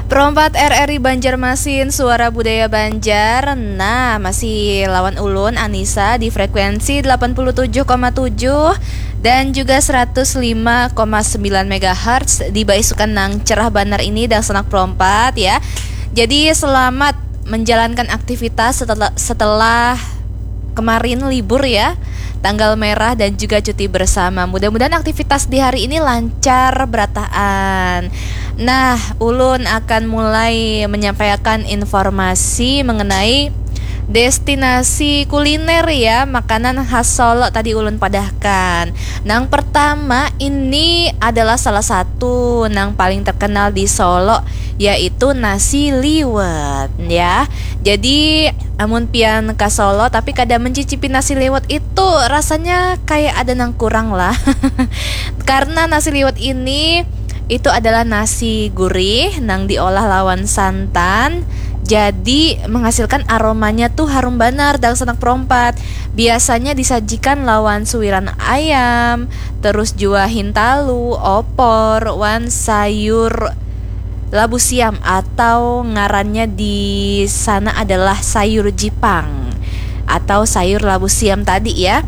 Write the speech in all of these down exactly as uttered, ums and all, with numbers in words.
Perompat R R I Banjarmasin, Suara Budaya Banjar. Nah, masih lawan ulun, Anissa, di frekuensi delapan puluh tujuh koma tujuh dan juga seratus lima koma sembilan megahertz di baisukan nang cerah banar ini, dangsanak perompat, ya. Jadi, selamat menjalankan aktivitas setelah, setelah kemarin libur, ya, tanggal merah dan juga cuti bersama. Mudah-mudahan aktivitas di hari ini lancar berataan. Nah, ulun akan mulai menyampaikan informasi mengenai destinasi kuliner, ya, makanan khas Solo tadi ulun padahkan. Nang pertama ini adalah salah satu nang paling terkenal di Solo, yaitu nasi liwet, ya. Jadi, amun pian ka Solo tapi kada mencicipi nasi liwet itu, rasanya kayak ada nang kurang lah. Karena nasi liwet ini itu adalah nasi gurih nang diolah lawan santan, jadi menghasilkan aromanya tuh harum banar, dangsanak perompat. Biasanya disajikan lawan suwiran ayam, terus jua hintalu, opor, wan sayur labu siam, atau ngarannya di sana adalah sayur Jipang atau sayur labu siam tadi, ya.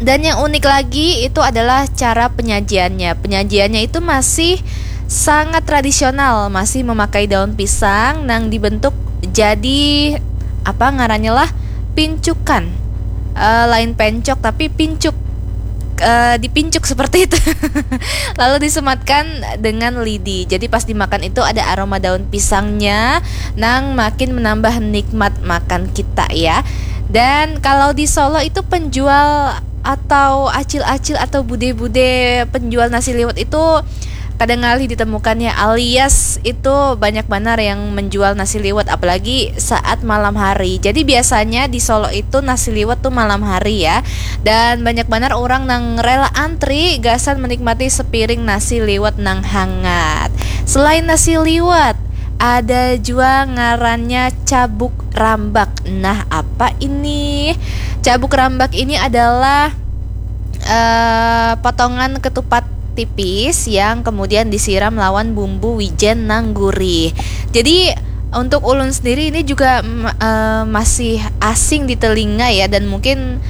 Dan yang unik lagi itu adalah cara penyajiannya. Penyajiannya itu masih sangat tradisional, masih memakai daun pisang nang dibentuk jadi, apa ngarannya lah, pincukan. Eh, lain pencok, tapi pincuk. Eh, dipincuk seperti itu. Lalu disematkan dengan lidi. Jadi, pas dimakan itu ada aroma daun pisangnya nang makin menambah nikmat makan kita, ya. Dan kalau di Solo itu penjual atau acil-acil atau bude-bude penjual nasi liwet itu kada ngalih ditemukannya, alias itu banyak banar yang menjual nasi liwet, apalagi saat malam hari. Jadi, biasanya di Solo itu nasi liwet tuh malam hari, ya. Dan banyak banar orang nang rela antri gasan menikmati sepiring nasi liwet nang hangat. Selain nasi liwet, ada jua ngarannya cabuk rambak. Nah, apa ini? Cabuk rambak ini adalah eh, potongan ketupat tipis yang kemudian disiram lawan bumbu wijen nang gurih. Jadi, untuk ulun sendiri ini juga, mm, eh, masih asing di telinga, ya, dan mungkin,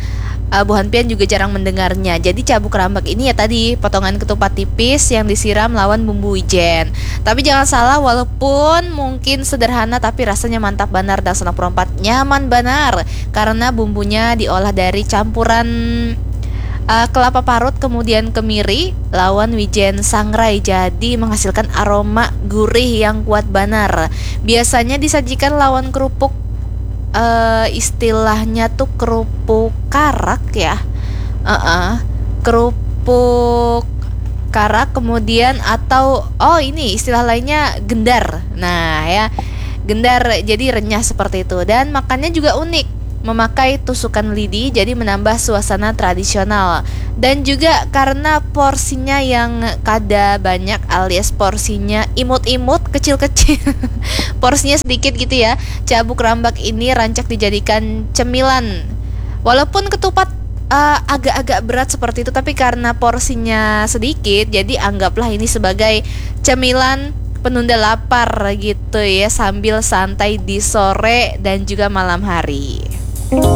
eh, buhan pian juga jarang mendengarnya. Jadi, cabuk rambak ini, ya, tadi potongan ketupat tipis yang disiram lawan bumbu wijen. Tapi jangan salah, walaupun mungkin sederhana, tapi rasanya mantap banar, dangsanak perompat, nyaman banar karena bumbunya diolah dari campuran, eh, kelapa parut, kemudian kemiri lawan wijen sangrai, jadi menghasilkan aroma gurih yang kuat banar. Biasanya disajikan lawan kerupuk, eh, istilahnya tuh kerupuk karak, ya. Heeh. Kerupuk karak, kemudian atau, oh, ini istilah lainnya gendar. Nah, ya. Gendar, jadi renyah seperti itu. Dan makannya juga unik, memakai tusukan lidi, jadi menambah suasana tradisional. Dan juga karena porsinya yang kada banyak alias porsinya imut-imut, kecil-kecil, porsinya sedikit gitu, ya. Cabuk rambak ini rancak dijadikan cemilan. Walaupun ketupat, eh, agak-agak berat seperti itu, tapi karena porsinya sedikit, jadi anggaplah ini sebagai cemilan penunda lapar gitu, ya, sambil santai di sore dan juga malam hari.